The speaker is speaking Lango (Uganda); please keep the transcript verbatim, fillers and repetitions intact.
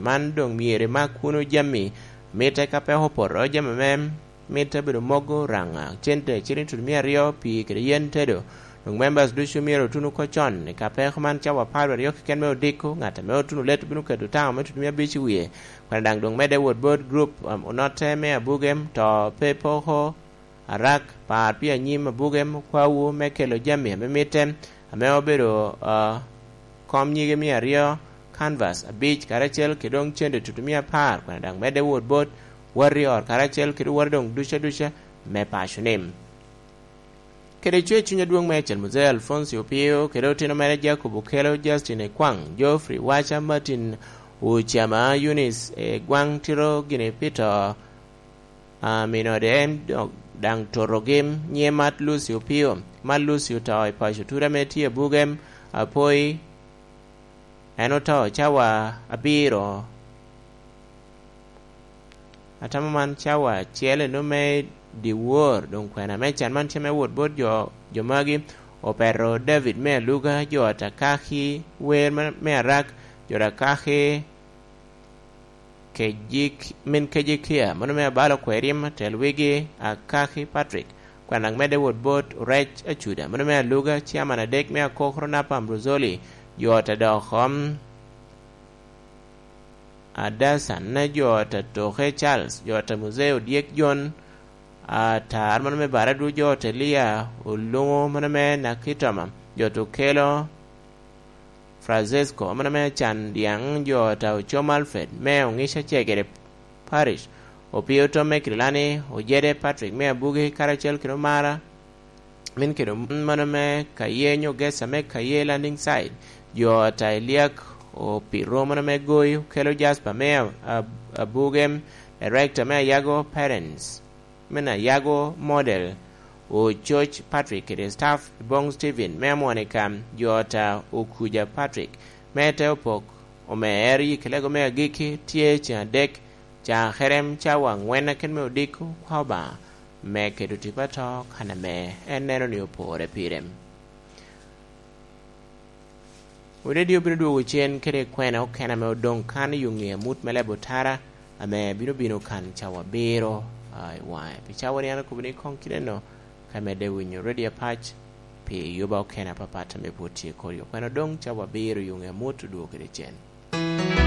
Man doŋ myero imak kuno jami mitte ka peko opoto, jami ame mitte bedo mogo, raŋa, cente, ciliŋ tutumia aryo, pii kede yen tedo. Doŋ members ducu myero otun oko con i ka peko man cawa apar aryo keken me odiko. Ŋat ame otuno let bino keto taŋo me tutumia abic i wie. Kwene daŋ doŋ medde wot bot group, um, onotte me abugem, to pe poko, arak, par pi anyim abugem, okwawu me kelo jami ame mitte, ame obedo, uh, kom nyige mia aryo, canvas abic, karacel kede doŋ cente tutumia apar. Kwene daŋ medde wot bot wati ot karacel kede wati doŋ duca duca me paco ni. Kede cwer cuny adwoŋ meicel, Muzee Alfonsi Opio kede otino mere Jacob Okelo, Justin Ekwaŋ, Geoffrey Waca, Martin Ocama, Eunice Egwaŋ, tito gini pi to, a, minode en do-, daŋ totogi. Nyiŋe Mat Lucy Opio. Mat Lucy oto i paco Tura ame tye abugem, Apoi. En oto cawa abiro. Atamo man cawa acel eno me dyewor, doŋ kwena me can man tye me wot bot jo, jo magi. Opeto David me Aluga, jo Atakaki, wer me, me Arak, jo Atakaki, Kejik-, min Kejekia, mano me abalo kwerim, tel wigi, Akaki Patrick, kwena daŋ medde wot bot Orec Acuda, mano me Aluga, ciaman adek me Akokoro Napa Ambrozoli, jo Tadoko, Adasan, jo Tatoke Charles, jo Tamuzeo Dyek Jon, Atar, mano me Baradu, jo Telia Oluŋo, mano me Nakitoma, jo Tukelo, Francesco, mano me Can Dyaŋ, jo Taucom Alfred, me Oŋica Cegere Parish, Opio Tom me Kirilani, Ojede Patrick me Abugi, karacel kede Omara, min kede mano me Kaye nyo Gesa me Kaye Landing Site, jo Tailiak, Opiro mano me Goyo, Kelo Jasper me Ab-, Ab-, Abugem, Director me Ayago Parents, me Ayago Model, Ococ Patrick kede staff, Bong Steven me Amonika, jo ta Okuja Patrick, me te opok, omer yi kelego me agikki, tye ceŋ adek, cakerem cawa aŋwen aken me odiko, kwa Obaŋa me keto tipo ato kan ame en neno ni opore pire. Odedi obino dwogo cen kede kwena okene ame odoŋ kan i yo ŋe amut me leb otara, ame bino bino kan cawa abiro, a, i waŋe. Pi cawa ni an akobo ni koŋ kite no, ka medde winyo ready apac pi yuba okene apapat ame pwod tye kodi. Okwena odoŋ cawa abiro i yo ŋe amut odwogo kede cen.